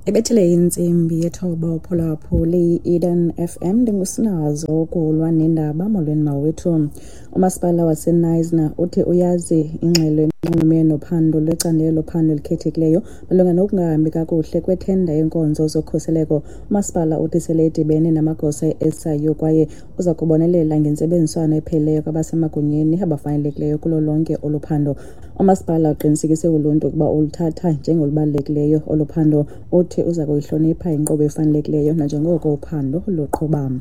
Ibethile intsimbi yethoba uphulaphuli i-Eden FM, ndingusinazo ukulwa nendaba. Molweni mawethu. Umasipala waseKnysna uthi uyazi ingxelo enxulumene nophando lwecandelo lophando elikhethekileyo malunga nokungahambi kakuhle kwethenda yenkonzo zokhuseleko. Umasipala uthi sele edibene namagosa e-SIU kwaye uza kubonelela ngentsebenziswano epheleleyo kwabasemagunyeni abafanelekileyo kulo lonke olu phando. Umasipala uqinisekise uluntu ukuba uluthatha njengolubalulekileyo olu phando. Uthi uza kuyihlonipha inkqubo efanelekileyo nanjengoko uphando luqhuba.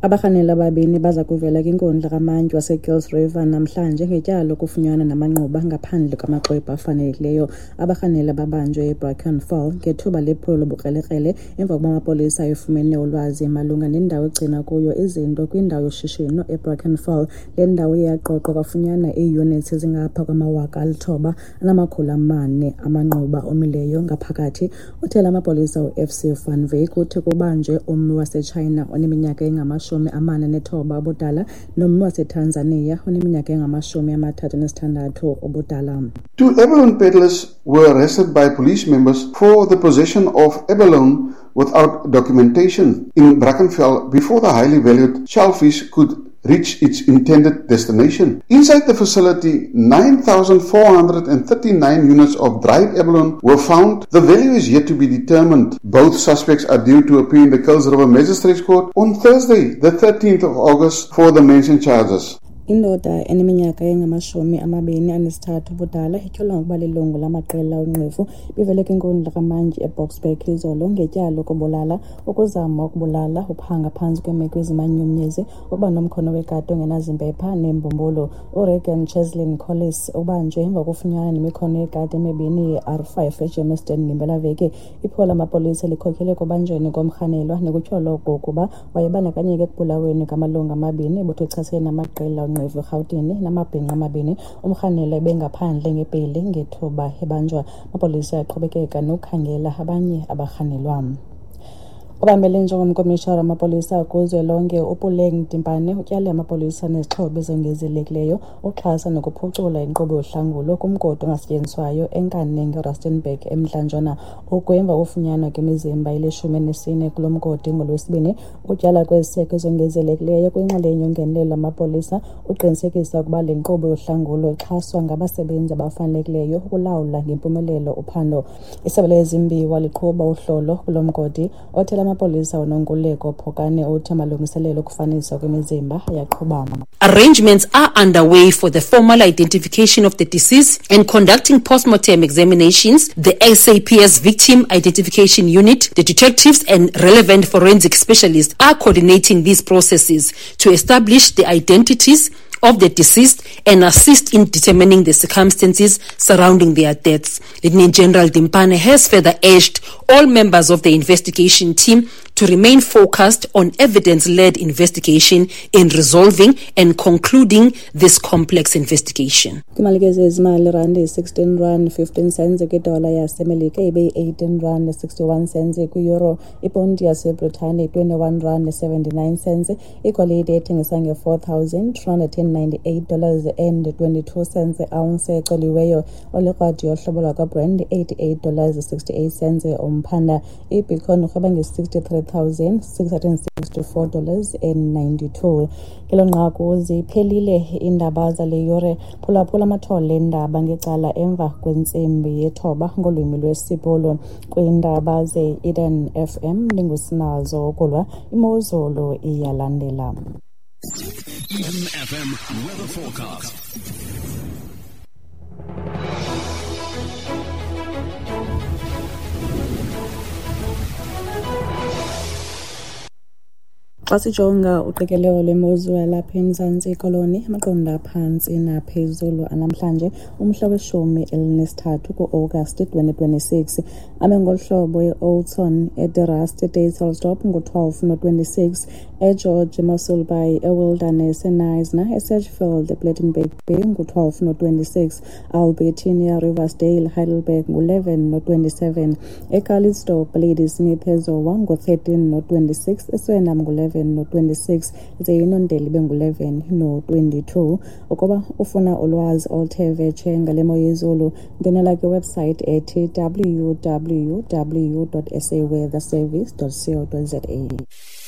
Abarhanelwa ababini baza kuvela kwinkundla kamantyi waseKuils River namhlanje ngetyala lokufunyanwa namanquba ngaphandle kwamaxwebhu afanelekileyo. Abarhanelwa babanjwe eBrackenfell ngethuba lephulo lobukrelekrele emva kokuba amapolisa efumene ulwazi malunga nendawo egcina kuyo izinto kwindawo yoshishino eBrackenfell. Le ndawo iye yaqoqwa kwafunyanwa iiyunitsi ezingapha kwama-9400 amanquba omileyo ngaphakathi. Uthela amapolisa uFC van Wyk uthi kubanjwe ummi waseTshayina oneminyaka engama-49 ubudala nommi waseTanzania oneminyaka engama-36 ubudala. Two abalone peddlers were arrested by police members for the possession of abalone without documentation in Brackenfell before the highly valued shellfish could reach its intended destination. Inside the facility, 9,439 units of dried abalone were found. The value is yet to be determined. Both suspects are due to appear in the Kuils River Magistrates Court on Thursday, the 13th of August, for the mentioned charges. Indoda eneminyaka engama-23 ubudala ityholwa ngokuba lilungu lamaqela onqevu bivele kwinkundla kamantyi eBoksburg izolo ngetyala lokubulala, ukuzama ukubulala, uphanga phantsi kweemeko ezimanyumnyezi, ukuba nomkhono wekati ongenazimpepha neembumbulu. URegan Cheslin Collis ubanjwe emva kokufunyanwa nemikhono yekati emibini ye-R5 eGermiston ngempelaveki. Iphulo lamapolisa likhokelele ekubanjweni komrhanelwa nekutyholwa okokuba wayebandakanyeka ekubulaweni kwamalungu amabini ebutho echasene namaqela onqevu eRhawutini namabhinqa amabini. Umrhanelwa ebengaphandle ngebheyile ngethuba ebanjwa. Amapolisa aqhubekeka nokukhangela abanye abarhanelwa. Obambele njengomkomishara wamapolisa kuzwelonke uPuleng Dimpane utyale amapolisa nezixhobo ezongezelekileyo uxhasa nokuphucula inkqubo yohlangulo kumgodi ongasetyenziswayo eNkaneng eRustenburg eMntla-Ntshona. Oku emva kokufunyanwa kwemizimba eli-14 kulo mgodi ngoLwesibini. Ukutyala kweziseko ezongezelekileyo kwinxalenye yongenelelo lwamapolisa uqinisekisa ukuba le nkqubo yohlangulo ixhaswa ngabasebenzi abafanelekileyo ukulawula ngempumelelo uphando. Isebe lezimbiwa liqhuba uhlolo kulo mgodi. Othela amapolisa uNonkululeko Phokane uthi amalungiselelo okufaniswa kwemizimba ayaqhuba. Arrangements are underway for the formal identification of the deceased and conducting postmortem examinations. The SAPS Victim Identification Unit, the detectives and relevant forensic specialists are coordinating these processes to establish the identities of the deceased and assist in determining the circumstances surrounding their deaths. Lieutenant General Dimpane has further urged all members of the investigation team to remain focused on evidence-led investigation in resolving and concluding this complex investigation. Kwimalike zezimali, irandi yi-16 rand 15 cents kwidola yaseMelika, ibe yi-18 rand 61 cents kwi-euro. Iponti yaseBritane yi-21 rand 79 cents. Igolide ethengiswa nge-$4,298 and 22 cents ounce ecoliweyo. Olikrwadi yohlobo lwakwaBrand $88 68 cents umphanda. IBitcoin irhweba nge-$63,664 and 92. Ngelo nqaku ziphelile iindaba zale yure. Phulaphula amathole eendaba ngecala emva kwentsimbi yethoba ngolwimi lwesiBhulu. Kwiindaba ze-Eden FM ndingusinazo ukulwa, imozulu iyalandela. Eden FM weather forecast. Xa sijonga uqikelelo lwemozulu yalapha eMzantsi Koloni, amaqondo aphantsi naphezulu anamhlanje umhla we-13 kuAgasti 2026 ame ngolu hlobo: eOudtshoorn, eDe Rust, eDysselsdorp ngu-12 no-26, eGeorge, eMossel Bay, eWilderness, eKnysna, eSedgefield, ePlettenberg Bay ngu-12 no-26, Albertinia, Riversdale, Heidelberg ngu-11 no-27, eCalitzdorp, Ladysmith, eZowa ngu-13 no-26, eSuriname ngu-11 no-26, ze iNondeli ibe ngu-11 no-22. Ukuba ufuna ulwazi oluthe vetshe ngale mo yezulu, ndwenela kwiwebsite ethi www.saweatherservice.co.za.